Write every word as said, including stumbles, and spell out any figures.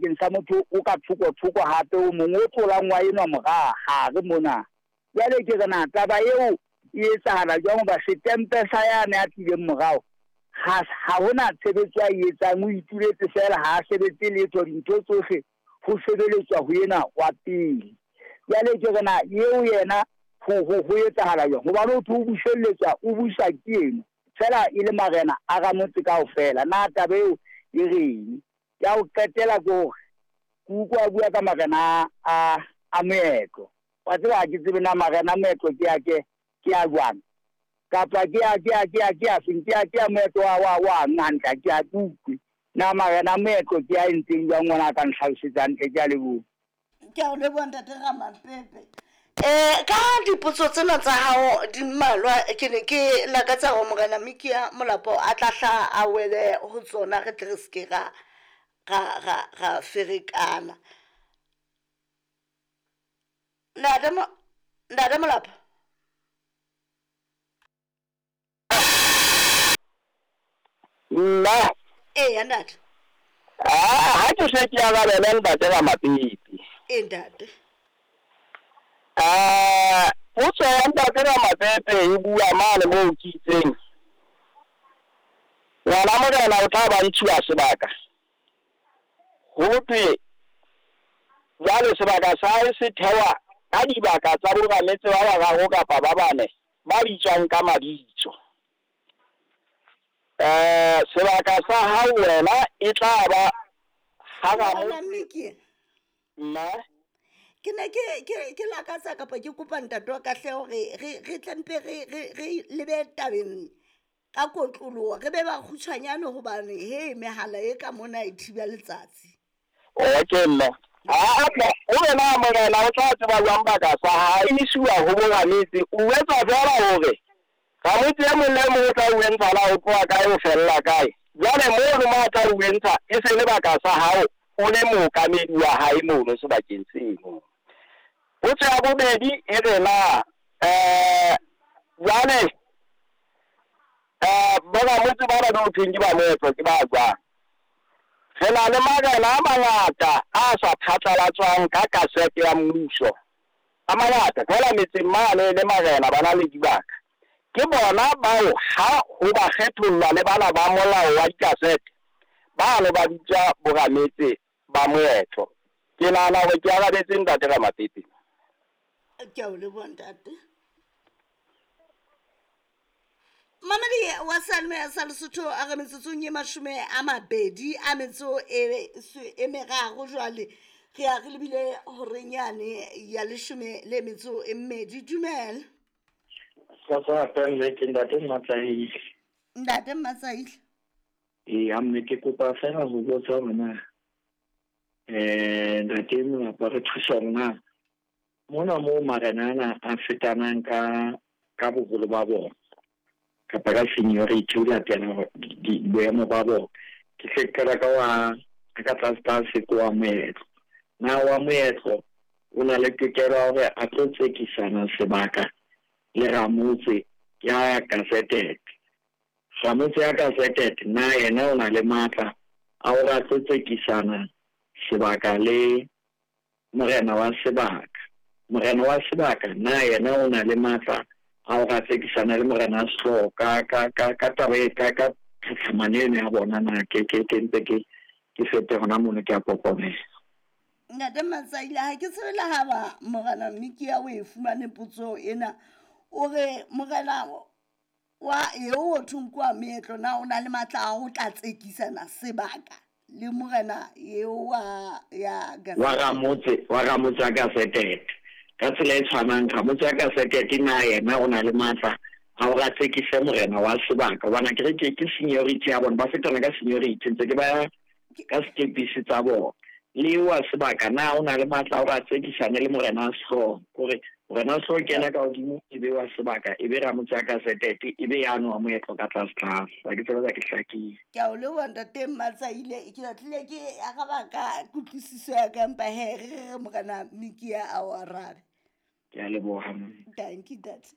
Bakeng sa motho o ka thoko-thoko hape o mong o tlolang wa enwa mora hare mona. Jwale ke re na taba eo e etsahala jwang hoba setempe sa yane a tlileng morao ha ha hona tshebetso a e etsang, o ituletse feela ha a sebetse letho, dintho tsohle ho sebeletswa ho ena wa pele. Jwale ke re na eo yena ho ho ho etsahala jwang hobane ho thwe o buselletswa, o busa ke eno feela e le marena a ramotse kaofela. Na taba eo e reng? Ya ho qetela ke hore ke utlwa a bua ka marena a a moetlo. Wa tseba ha ke tsebe na marena a moetlo ke a ke ke a jwang kapa ke a ke a ke a ke a feng, ke a ke a moetlo wa wa wa hantle, ha ke a ke utlwe na marena a moetlo ke a entseng jwang ngwana a ka nhlalosetsa hantle. Ke a leboha. Ke a o leboha ntate Ramapepe. Eh ka dipotso tsena tsa hao di mmalwa, ke ne ke lakatsa hore morena Mikia Molapo a tla hla a wele ho tsona, re tle re seke ra ra ra ra ferekana. Ntate Mo Ntate Molapo. Nna Eya ntate. Ah, ha ke se ke arabele ntate Ramapepe. E ntate. Ah, potso ya ntate Ramapepe e bua mane moo ke itseng. Ngwana morena o tla ba ntshuwa sebaka. Ho thwe jwale sebaka sa hae se thewa ka dibaka tsa borametse ba bararo kapa ba bane ba bitswang ka mabitso. Eh, sebaka sa hao wena e tla ba ha Morena Mikia. Nna Ke ne ke ke ke lakatsa kapa ke kopa ntate wa ka hle hore re re tle mpe re re re lebe tabeng ka kotloloho, re be ba kgutshwanyane hobane he mehala e ka mona e thiba letsatsi. Okay mme. Ha o wena morena o tla tseba jwang baka sa hae isiwa ho borametse, o etsa feela hore ramotse e mong le mong o tla o entsha la o tloha kae o fella kae. Jwale mono mo a tla o entsha e se le baka sa hao o le mookamedi wa hae mono sebakeng seno. Potso ya bobedi e re na eh jwale eh boramotse bana ba ho thweng ke ba moetlo ke ba jwang? Re na le marena a mangata a sa phatlalatswang ka kasete ya mmuso. A mangata feela metseng mane le marena ba na le dibaka. Ke bona bao ha ho ba kgethollwa le bana ba molao wa dikasete ba no ba bitsa borametse ba moetlo. Ke nahana hore ke arabetse ntate Ramapepe. Ke a o leboha ntate. Mamedi wa Seyalemoya sa Lesotho a re metsotsong e mashome a mabedi a metso e e meraro jwale re ya re lebile horeng yane ya leshome le metso e mmedi. Dumela. Ke ntate Mmatsaile. Ntate Mmatsaile. Ee, mme ke kopa fela ho botsa hore na eh ntate Molapo re thusa hore na mona moo marena ana a fetanang ka ka boholo ba bona kapa ka seniority ho latela boemo ba bona. Ke hle ke qala ka wa ka tlase tlase ko wa moetlo. Na wa moetlo o na le tokelo ya hore a tlo tsekisana sebaka le ramotse ya gazetted. Ramotse ya gazetted na yena o na le matla a hore a tlo tsekisana sebaka le morena wa sebaka. Morena wa sebaka na yena o na le matla a hore a tsekisana le morena wa sehlooho ka ka ka ka taba e ka ka tlhatlhamano eno ya bona na ke ke ke ntse ke ke fete hona mono ke a kokomela. Ntate Mmatsaile, ha ke tsebe le ha ba morena Mikia o e fumane potso ena. O re morena wa eo o thweng ke wa meetlo na o na le matla a ho tla tsekisana sebaka le morena eo wa ya wa ramotse wa ramotse a gazetted. Ka tsela e tshwanang ramotse a gazetted na yena o na le matla a hore a tsekise morena wa sebaka hobane akere ke ke seniority ya bona, ba fetana ka seniority ntse ke ba ka setepisi tsa bona. Le wa sebaka na o na le matla a hore a tsekisane le morena wa sehlooho, hore morena wa sehlooho ke yena ka hodimo e be wa sebaka e be ramotse a gazetted e be yano wa moetlo ka tlase tlase. Ha ke tsebe ke hlakile. Ke a o leboha ntate Mmatsaile, ke batlile ke araba ka kutlwisiso ya ka empa he re re morena Mikia a o arabe. Ke a leboha. Thank you ntate.